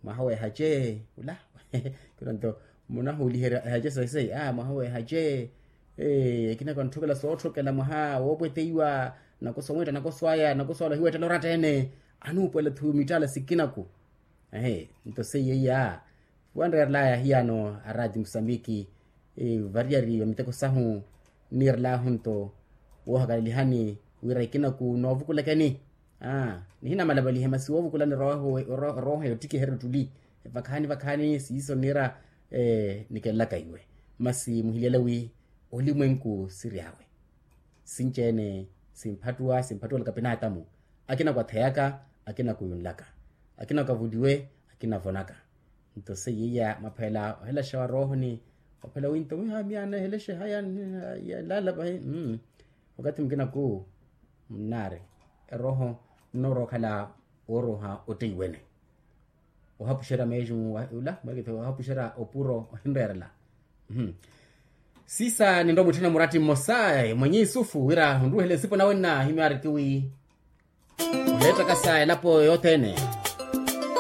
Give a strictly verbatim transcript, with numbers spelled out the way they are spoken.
Mwaha w'ehace ula. Kira nto munahuuliherya ehace saisayi a mwaha w'ehace. Ekina kantthokela sootthokela mwaha woopweteiwa nakoso wetta nakoso aya nakoso ala ohiwettela oratta-ene. Anuupuwela-tho mittala sikinaku. Ehe nto seiya iya. Wanreerelaya ahiyaano a raati musambiki variyari va miteko sahu. Nniirelahu nto woohakalalihani wira ikinaku noovukulakeni. Aa nihinamalapalihe masi woovukulani erooho yottikiherya ottuli. Evakhani vakhani siiso nniira nikelelaka iwe. Masi muhilyele wi olimwenku siri awe. Sinci-ene simphattuwa simphattuwelaka pinaatamu. Akina kwatheyaka akina kuyunlaka. Akina kavuliwe akina vonaka. Nto seiya iya mwaphela ohelaxa wa roohoni. Ophela wi nto mwiha miya nahelexe haya. Lala vahi. Wakathi mukinaku munnaari erooho nnoorowa okhala wooroha otteiwene. Ohapuxerya meeju ula mweekitho ohapuxerya opuro ohinreerela. Siisa ninrowa mwitthana muratti mmosa mwenye isufu wira onruwehela esipo nawe nna himyaari kiwi oheettakasa elapo yothene.